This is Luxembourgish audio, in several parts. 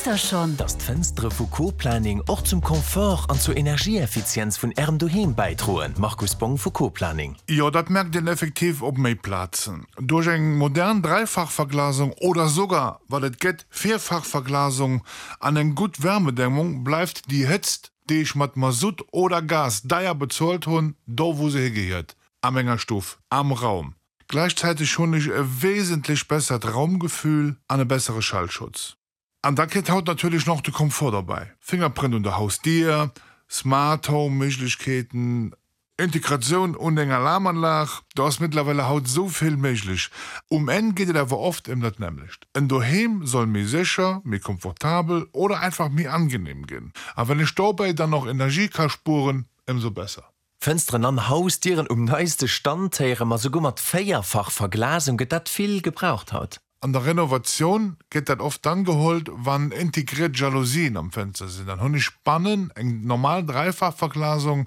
Wousst der schonn? Dass d'Fënstere vu Co-Planning och zum Confort an zur Energieeffizienz vun Ärem Doheem bäidroen? Markus Bong vu Co-Planning. Jo, dat merkt een effektiv op méi Plazen. Duerch eng modern Dräifachverglasung oder sogar, wat et gëtt, Vierfachverglasung an eng gutt Wärmedämmung bleift déi Hëtzt, déi ech mat Masutt oder Gas deier bezuelt hunn, do wou se higehiert, a menger Stuff, am Raum. Gläichzäiteg hunn ech e wesentlech bessert Raumgefühl an e bessere Schallschutz. An da kritt haut natierlech nach de Komfort derbäi, Fingerprint un der Hausdier, Smart Home Méiglechkeeten, Integratioun un eng Alarmanlag, do ass mëttlerweile haut esou vill méiglech. Um Enn geet et awer oft ëm dat nämmlecht, en Doheem soll méi sécher, méi komfortabel oder einfach méi angenehm ginn. A wann ech dobäi dann och Energie ka spueren, ëmsou besser. Fënsteren an Hausdieren um neiste Stand héiere mer, souguer mat Véierfachverglasung. Gëtt dat vill gebraucht haut? An der Renovatioun gëtt dat oft dann geholt, wann integriert Jalousien am Fenster sinn. Dann hunn ech bannen eng normal Dräifachverglasung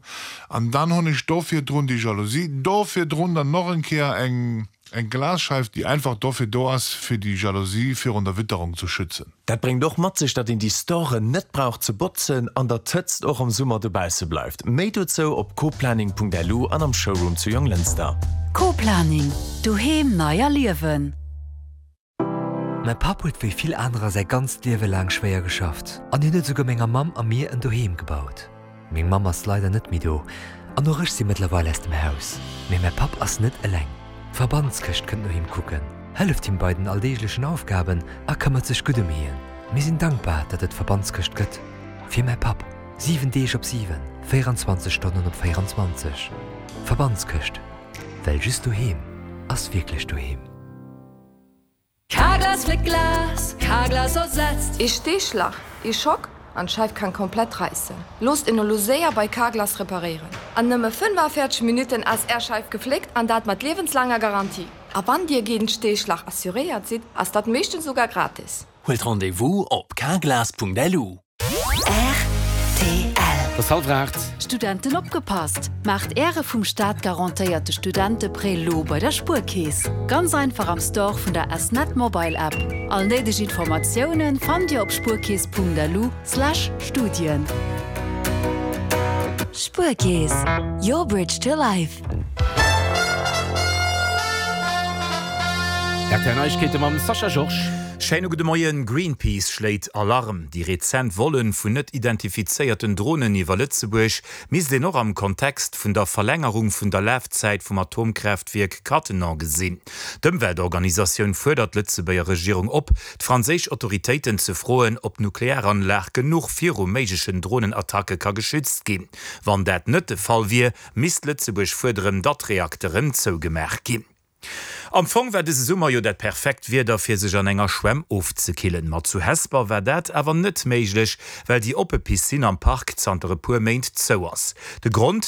an dann hunn ech do virdrun déi Jalousie, do virdrun dann noch eng Kéier eng eng Glasscheif, déi einfach dofir do ass, fir déi Jalousie virun der Witterung zu schützen. Dat bréngt och mat sech, datt een déi Storen net brauch ze botzen an datt d'Hëtzt och am Summer dobausse bleift. Méi dozou op coplaning.lu an am Showroom zu Jonglënster. Co-Planning, Doheem nei erliewen. Mäi Papp huet wéi vill anerer säi ganzt Liewe laang schwéier geschafft an hien huet esouguer menger Mamm a mir en Doheem gebaut. Meng Mamm ass leider net méi do an och ech si mëttlerweil aus dem Haus. Mee mäi Papp ass net eleng. D'Verbandskëscht kënnt no him kucken, hëlleft him bei den alldeeglechen Aufgaben a këmmert sech gutt ëm hien. Mir sinn dankbar, datt et d'Verbandskëscht gëtt. Fir mäi Papp. 7 Deeg op 7, 24 Stonnen op 24. Verbandskëscht, well just doheem ass wierklech doheem. Carglass fléckt Glas, Carglass ersetzt. Ee Steeschlach, ee Schock an d'Scheif kann komplett reissen. Loosst en elo séier bei Carglass reparéieren. An nëmme 45 Minutten ass är Scheif gefléckt an dat mat liewenslaanger Garantie. A wann dir géint Steeschlach assuréiert sidd, ass dat meeschtens sougar gratis. Huelt Rendez-vous op carglass.lu. Rtl. Et ass hallwer 8. Studenten opgepasst! Maacht Äre vum Staat garantéierte Studenteprêt lo bei der Spuerkeess. Ganz einfach am Store vun der S-Net Mobile App. All néideg Informatiounen fannt Dir op spuerkeess.lu slash Studien. Spuerkeess, your bridge to life. Rtl Neiegkeete mam Sascha Georges. Schéine gudde Moien. Greenpeace schléit Alarm, Déi rezent Vollen vun net identifizéierten Dronen iwwer Lëtzebuerg misst een och am Kontext vun der Verlängerung vun der Lafzäit vum Atomkraaftwierk Cattenom gesinn. D'Ëmweltorganisatioun fuerdert d'Lëtzebuerger Regierung op, d'franséisch Autoritéiten ze froen, ob d'Nuklearanlag genuch viru méiglechen Dronenattacke ka geschützt ginn. Wann dat net de Fall wier, misst Lëtzebuerg fuerderen, datt d'Reakteren zougemaach ginn. Am Fong war dëse Summer jo dat perfekt Wieder fir sech an enger Schwämm ofzekillen. Ma zu Hesper war dat awer net méiglech, well déi oppe Piscine am Park zanter e puer Méint zou ass. De Grond?